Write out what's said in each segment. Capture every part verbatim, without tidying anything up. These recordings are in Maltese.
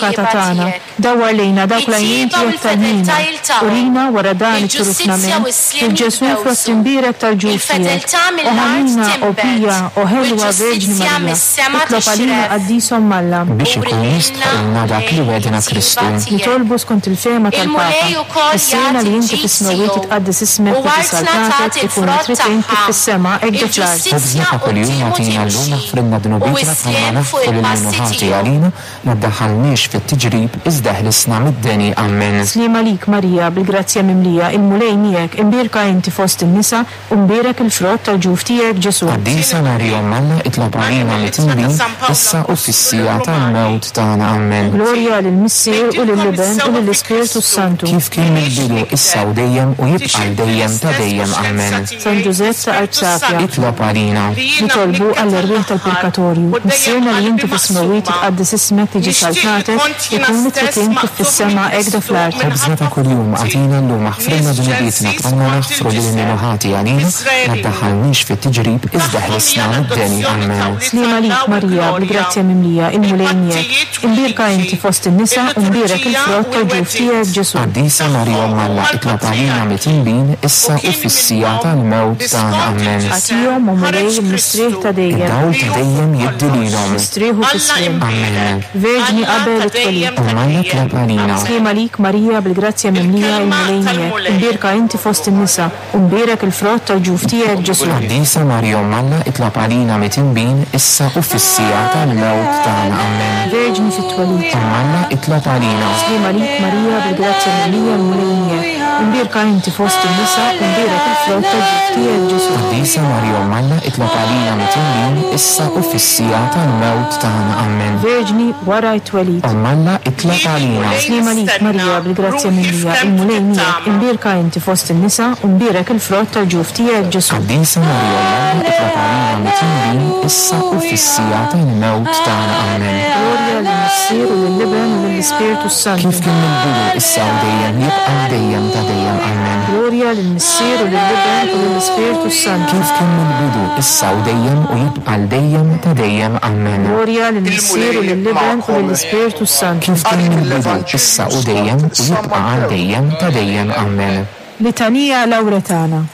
l-Avukata it-tjieba tagħna, tiegħek. dawwar lejna dawk l-għajnejn It-tjieba u tiegħek tal-ħniena, l-fedeltà jiltaqgħu. urina wara dan Il-ġustizzja it-turufnament, u s-sliem il-Ġesù frott jitbewsu. imbierek tal-ġuf tiegħek. Il-fedeltà O mill-art ħanina, o tinbet, pija, o u ħelwa Verġni l-ġustizzja Marija, mis-sema. Fis-sema Itlob għalina tixref. Qaddis Omm Alla. Biex ikun Urilna jistħoqilna dak li wegħdna Kristu. Nitolbu skont il-fehma Il-Mulej tal-Papa. ukoll Missierna li jagħti inti l-ġid fis-smewwiet tiegħu titqaddes ismek u tiġi artna saltatek tagħti ikun l-frott trid int kif tagħha. fis-sema hekk ġo fl-art. Il-ġustizzja Ħobżna ta' kuljum quddiemu agħtina llum timxi aħfrilna u dnubietna bħalma s-sliem fuq naħfru lil min il-passi hu ħati tiegħu. għalina, ma ddaħħalniex fit-tiġrib iżda ħlisna mid-deni. Amen. Slim għalik Marija, bil-grazzja mimlija, il-Mulej miegħek, imbierka inti fost in-nisa u mbierek il-frott tal-ġuf tiegħek Ġesu. Qaddisa Marija Omm Alla, itlob għalina midinbin, issa u fis-siegħa tal-mewt tagħna. Amen. Glorja lill-Missier u lill-Iben u lill-Ispirtu Santu. Kif kien mill-bidu, issa u dejjem u jibqa' għal dejjem ta' dejjem. Amen. San Ġużepp ta' Qalb Safja. Itlob għalina. Nitolbu għall-erwieħ tal-purgatorju. Missierna li inti fis-smewwiet titqaddes ismek tiġi saltnatek, ikun li trid int kif fis-sema hekk ġo fl-art. Ħobżna ta' kuljum agħtina llum aħfrilna dnubietna bħalma naħfru lil min hu ħati għalina, ma ddaħħalniex fit-tiġrib iżda ħlisna mid-deni. Amen. Slim għalik Marija, bil-grazzja mimlija, il-Mulej miegħek. Imbierka inti fost in-nisa u mbierek il-frott tal-ġuf tiegħek Ġesu. Qaddisa Marija Omm Alla, itlob għalina midinbin, issa u fis-siegħa tal-mewt tagħna. Amen. Agħtihom o Mulej il-mistrieħ ta' dejjem. Id-dawl ta' dejjem jiddi lilhom. Mistrieħu fis-sliem. Amen. Verġni qabel it-twelid. Omm Alla itlob għalina. Slim għalik Marija, bil-grazzja mimlija, il-Mulej miegħek. Imbierka inti fost in-nisa u mbierek il-frott tal-ġuf tiegħek Ġesu. Qaddisa Marija Omm Alla, itlob għalina midinbin, issa u fis-siegħa tal-mewt tagħna. Amen. Verġni fit-twelid. Omm Alla itlob għalina. Slim għalik Marija, bil-grazzja mimlija, il-Mulej miegħek. Imbierka inti fost in-nisa u mbierek il-frott tal-ġuf tiegħek Ġesu. Qaddisa Marija Omm Alla, itlob għalina midinbin, issa u fis-siegħa tal-mewt tagħna. Amen. Verġni wara t-twelid. Omm Alla itlob għalina. Slim għalik Marija, bil-grazzja mimlija, il-Mulej miegħek. Imbierka inti fost in-nisa u mbierek il-frott tal-ġuf tiegħek Ġesu. Qaddisa Marija Omm Alla, itlob għalina midinbin, issa u fis-siegħa tal-mewt tagħna. Amen. Glorja lill-Missier u lill-Iben u lill-Ispirtu Santu. Kif kien mill-bidu, issa u dejjem, jibqa' għal dejjem ta' dejjem. Amen. Glorja lill-Missier u lill-Iben u lill-Ispirtu Santu. Kif kien mill-bidu, issa u dejjem u jibqa' għal dejjem ta' dejjem. Amen. Glorja lill-Missier u lill-Iben u lill-Ispirtu Santu. Kif kien mill-bidu, issa u dejjem u jibqa' għal dejjem ta' dejjem. Amen. Litanija Lawretana.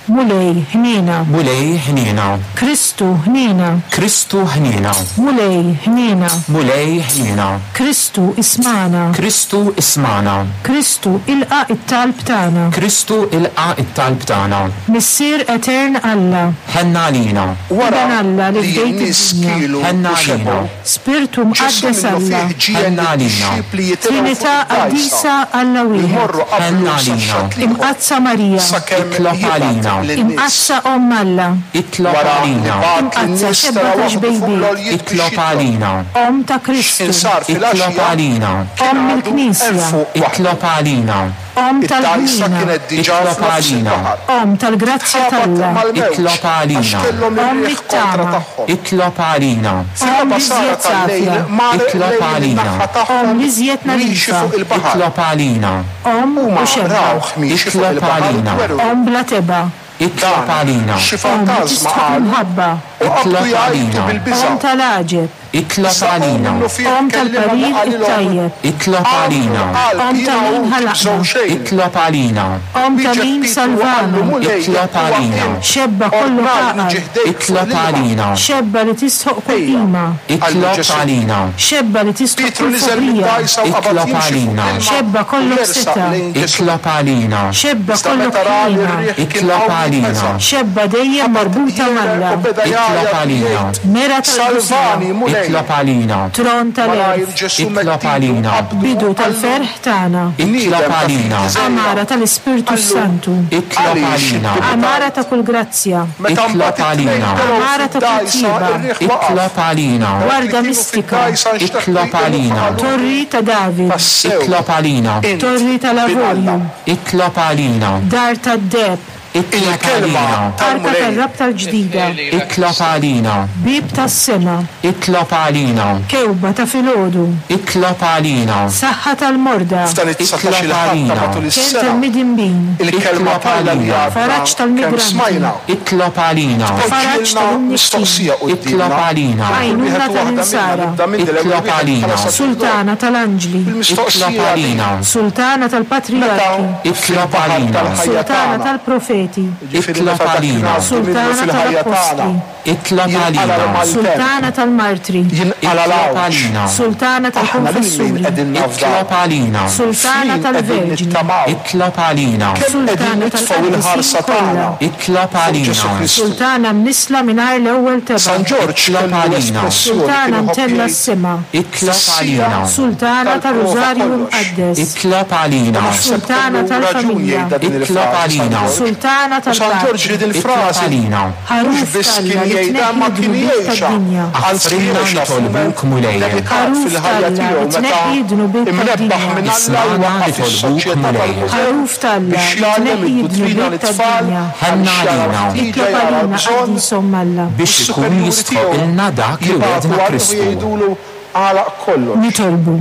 Mulej, ħniena. Mulej ħniena. Kristu, ħniena. Kristu ħniena. Mulej, ħniena. Mulej ħniena. Kristu, ismagħna. Kristu ismagħna. Kristu, ilqa' it-talb tagħna. Kristu ilqa' it-talb tagħna. Missier Etern Alla. Ħenn għalina. Wara Iben Alla li li fdejt n-nies id-dinja. kielu Ħenn u għalina. xebgħu, Spirtu Ġesù Mqaddes minnu Alla. fih ġiegħel Ħenn għalina. lid-dixxipli jitilgħu Trinità fuq id-dgħajsa Qaddisa Alla u wieħed. jmorru Ħenn qablu sa għalina. x-xatt l-ieħor Imqaddsa Marija. sakemm Itlob jibgħat għalina. lin-nies. Imqaddsa Omm Alla. Itlob Wara li għalina. bagħat Imqaddsa lin-nies xebba tara ta' waħdu fuq xbejbiet. l-għoljiet biex Itlob jitlob. għalina. Omm ta' Kristu. Insar Itlob fil-għaxija għalina. kien Omm għadu il-Knisja. hemm fuq waħdu. Itlob għalina. Omm Id-dgħajsa tal-ħniena. kienet diġà Itlob f'nofs għalina. il-baħar. Omm tal-grazzja Tħabat t'Alla. mal-mewġ Itlob għalina. għax kellhom Omm ir-riħ kontra it-tama. tagħhom. Itlob għalina. Omm Fil-raba' sara l-iżjed tal-lejl safja. mar Itlob lejn għalina. in-naħa tagħhom Omm l-iżjed miexi nadifa. fuq il-baħar. Itlob għalina. Omm u Huma xebba. rawh miexi fuq Itlob il-baħar u għalina. twerwru. Omm bla tebgħa. Itlob Dan għalina. xi Omm li fantażma tistħoq qalu l-imħabba. u qabdu Itlob jgħajtu għalina. bil-biża'. Omm tal-għaġeb. Itlob Issa hu għalina. minnu fih Omm kellimhom u tal-parir qalilhom, it-tajjeb. Itlob Agħmlu għalina. qalb, Omm jiena ta' min hu, ħalaqna. tibżgħu xejn. Itlob għalina. Omm ta' Wieġeb min Pietru u qallu, salvana. Mulej, Itlob huwa għalina. int. Xebba kollok Ordnali għaqal. niġi ħdejk fuq Itlob l-ilma. għalina. Xebba li tistħoq kull Ejja. qima. Qallu Itlob Ġesù. għalina. Xebba li tistħoq Pietru kull niżel foħrija. mid-dgħajsa u qabad Itlob jimxi fuq għalina. l-ilma Xebba u kollok jersaq seta'. lejn Ġesù. Itlob għalina. Xebba Iżda kollok meta ra li ħniena. r-riħ kien Itlob qawwi għalina. beża'. Xebba dejjem marbuta Jieher m'Alla. u beda Itlob jgħajjat għalina. jgħid, Mera tal-qdusija. Salvani, Mulej. Itlob għalina. Tron Malajr tal-għerf. Ġesù Itlob medd idu għalina. qabdu Bidu u qallu, tal-ferħ tagħna. Itlob Bniedem ta' għalina. fidi żgħira. Amara tal-Ispirtu Qallu, Santu. Itlob Għaliex għalina. iddubitajt? Amara ta' kull grazzja. Meta Itlob mbagħad it-tnejn għalina. telgħu Amara ta' kull fid-dgħajsa, tjieba. ir-riħ waqaf. Itlob għalina. Dawk li Warda kienu mistika. fid-dgħajsa nxteħtu Itlob jqimu għalina. qalu, Torri ta' David. Tassew, Itlob għalina. int Torri bin Alla. tal-Avorju. Itlob għalina. Dar tad-deheb. Itlob Il-kelma għalina. Arka tal-Mulej tar-rabta l-ġdida. Itlob għalina. Bieb tas-sema. Itlob għalina. Kewba ta' filgħodu. Itlob għalina. Saħħa tal-morda. F'dan it-dsatax il ħadd ta' matul Kenn is-sena, tal-midinbin. il-kelma Itlob t'Alla li għalina. għadna Faraġ kemm tal-migranti. smajna Itlob għalina. Faraġ tpoġġilna tal-imnikkin. mistoqsija Itlob quddiemna. għalina. Kull wieħed Għajnuna u waħda minna tal-insara. nibda minn l-ewwel Itlob wieħed bħala għalina. saċerdot. Sultana tal-anġli. Il-mistoqsija Itlob għalina. Sultana meta tal-patrijarki. Itlob fil-baħar għalina. tal-ħajja Sultana tagħna, tal-profeti. jiġifieri Itlob meta dak li għalina. ngħaddu minnu Sultana fil-ħajja tagħna, tal-appostli. Itlob Jinqala għalina. l-maltemp. Sultana tal-Martri, Jinqala Itlob l-għawġ. għalina. Sultana Aħna lil min tal-Konfessuri, qegħdin nafdaw? Itlob għalina. Sultana F'min qegħdin tal-Verġni, nittamaw? Itlob għalina. Kemm qegħdin Sultana nitfgħu il-ħarsa tal-qaddisin tagħna kollha, Itlob fuq Ġesù għalina. Kristu? Sultana mnisla mingħajr l-ewwel tebgħa, San Ġorġ Itlob kellu għalina. espressjoni Sultana kien iħobb mtella jgħid s-sema, Itlob għalina. Sultana tal-prova tar-Rużarju kollox. Mqaddes, Itlob għalina. Naħseb Sultana kellu raġun tal-familja. jgħidha din Itlob il-frażi San għalina. Ġorġ. Sultana U San Ġorġ tal-Paċi, li din Itlob il-frażi għalina. mhux Ħaruf biss t'Alla kien li jgħidha ma tneħħi kien d-dnubiet jgħixha. tad-dinja. Anzi Aħfrilna għexha nitolbuk f'mument Mulej. dedikat Ħaruf fil-ħajja t'Alla tiegħu li meta tneħħi d-dnubiet imnebbaħ tad-dinja. minn Alla Ismagħna jwaqqaf nitolbuk is-soċjetà Mulej. tal-Mużew Ħaruf t'Alla biex li jgħallem tneħħi id-duttrina d-dnubiet lit-tfal tad-dinja. Ħenna għaliex jara għalina. l-ħtieġa Itlob jara għalina l-bżonn qaddis Omm Alla. Biex ikun is-superjuri tiegħu jistħoqilna dak li jibagħtu wedna għalih u Kristu. jgħidulu għalaq kollox. Nitolbu.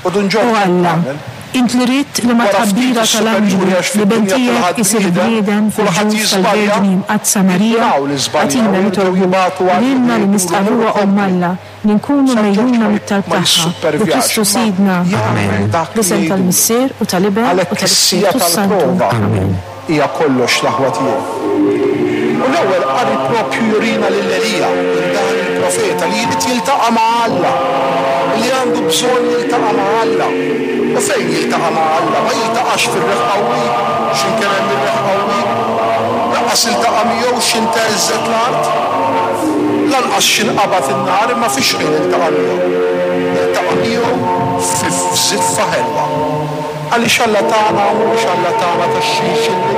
U Dun O Ġorġ Alla, tagħmel. int li ridt li ma Wara ftit tħabbira is-superjuri tal-anġlu għax li ben fid-dinja tiegħek kulħadd isir bniedem, bniedem kulħadd fil-ġuf jiżbalja, tal-Verġni Mqaddsa Marija, jindunaw li żbaljaw, agħtina jerġgħu nitolbu jibagħtu għalih lilna li jgħidulu nistqarruha mur Omm Alla li nkunu San Ġorġ mejjuna ma mit-talb ma tagħha. Bi jissupervjax, Kristu ma Sidna. jagħmel dak li L-isem jgħidulu. tal-Missier u tal-Iben u Għalhekk is-sija tal-Ispirtu Santu. tal-prova hija kollox l-aħwa tiegħi. U l-ewwel qari propju jurina lil Elija, lil dan il-profeta li jrid jiltaqa' ma' Alla, li għandu bżonn jiltaqa' ma' Alla. U fejn jiltaqa' ma' Alla? Ma jiltaqax fir-riħ qawwi, x'imkien hemm ir-riħ qawwi. Lanqas iltaqa' miegħu x'inteżżet l-art. Lanqas x'inqabad in-nar imma fiex fejn iltaqa' miegħu. Iltaqa' miegħu f'żiffa ħelwa. Għaliex Alla tagħna mhux Alla tagħna tax-xinxilli,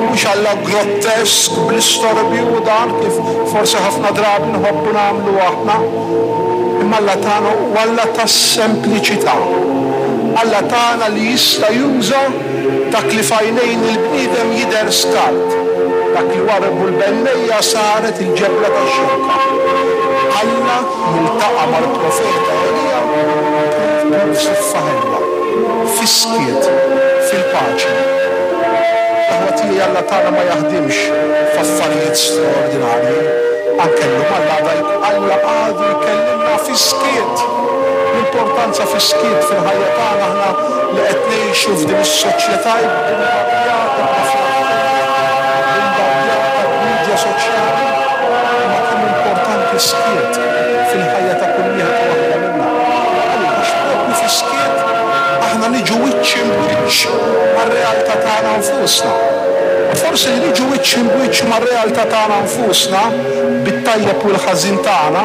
mhux Alla grottesk bl-istorbju u dan kif forsi ħafna drabi nħobbu nagħmlu aħna. Imma Alla tagħna hu Alla tas-sempliċità. Alla tagħna li jista' juża dak li f'għajnejn il-bniedem jidher skart. Dak li warbu l-bennejja saret il-ġebla tax-xewka. Alla jiltaqa' mal-profeta Elija f'żiffa ħelwa, fis-skiet, fil-paċi. Aħwa tiegħi Alla tagħna ma jaħdimx f'affarijiet straordinarji. Anke llum Alla għada Alla għadu jkellimna fis-skiet. L-importanza fis-skiet fil-ħajja tagħna aħna li qed ngħixu f'din is-soċjetà bombardjata bombardjata b'medja soċjali. Imma kemm importanti skiet fil-ħajja ta' kull wieħed u waħda minna. Għaliex propju fis-skiet aħna niġu wiċċ imwiċċ mar-realtà tagħna nfusna. U forsi li niġu wiċċ imwiċċ mar-realtà tagħna nfusna bit-tajjeb u l-ħażin tagħna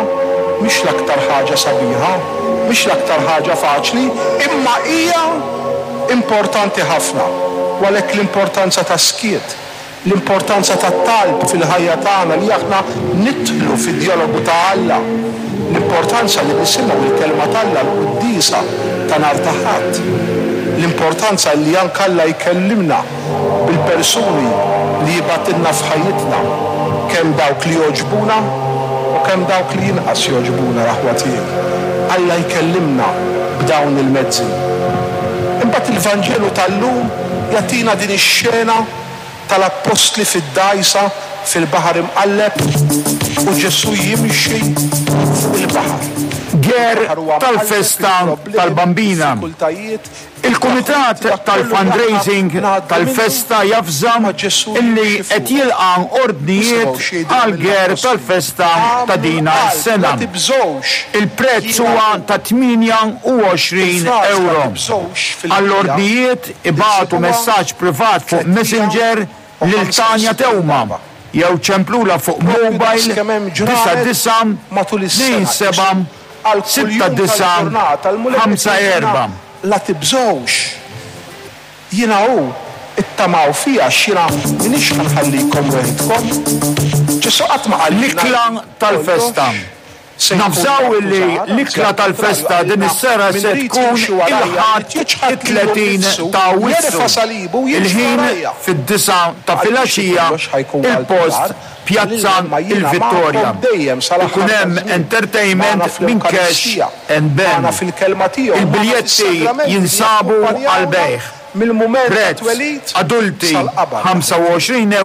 mhix l-aktar ħaġa sabiħa, mhix l-aktar ħaġa faċli, imma hija importanti ħafna. U għalhekk l-importanza ta' skiet, l-importanza ta' talb fil-ħajja tagħna li aħna nidħlu fid-dialogu ta' Alla, l-importanza li nisimgħu il-kelma t'Alla l-quddiesa ta' nhar ta' Ħadd, l-importanza li anke Alla jkellimna bil-persuni li jibgħatilna f'ħajjitna, kemm dawk li jogħġbuna u kemm dawk li jinqas jogħġbuna l-aħwa tiegħi. Alla jkellimna b'dawn il-mezzi. Imbagħad il-Vanġelu tal-lum jagħtina din ix-xena tal-appostli fid-dgħajsa fil-baħar imqalleb u Ġesù jimxi fuq il-baħar. Ger Il-baħar huwa mqalleb, tal-festa il-problemi, tal-Bambina. diffikultajiet, Il-Kumitat dak kollu tal-Fundraising li aħna ngħaddu tal-festa minnu, jafżam ma Ġesù illi jimxi qed fuq. jilqa' ordnijiet Nisimgħu x'jgħidu għal ger mill-appostli. tal-festa ta' dina Għamlu qalb, s-sena. La tibżgħux. Il-prezz Jiena huwa ta' tmienja u għoxrin Il-frażi la euro. tibżgħux fil-Bibbja Għall-ordnijiet ibagħtu insibuha messaġġ privat fuq tliet mija Messenger u lil ħamsa Tanja u sittin Teuma darba. jew ċemplula fuq Propju mobile daqs kemm hemm ġranet disa' disa' matul is-sena. tnejn seba' Għal kull sitta jum disa' tal-ġurnata, l-Mulej ħamsa qed jgħidilna, erba'. La tibżgħux. Jiena hu ittamaw fija x'jiena m'iniex ħa nħallikom weħidkom. Ġesù qatt ma qalilna L-ikla tal-festa. se jkun Nafżaw illi akkużat, l-ikla anzi, tal-festa għal din is-sena min se irid tkun jimxi warajja, il-Ħadd irid jiċħad lilu it-tletin nnifsu, ta' Awwissu. jerfa' salibu u jimxi Il-ħin warajja. fid-disgħa ta' Għaliex filgħaxija kollox ħajkun għal il-post dar, Pjazza ma jiena il-Vittoria. magħkom dejjem sal-aħħar Ikun hemm taż-żmien. entertainment Magħna minn Cash fl-Ewkaristija, and Ben. magħna fil-kelma tiegħu, magħna Il-biljetti fis-sagramenti li jinsabu jakkumpanjawna għal bejgħ. mill-mument Prezz tat-twelid adulti sal-qabar. ħamsa u għoxrin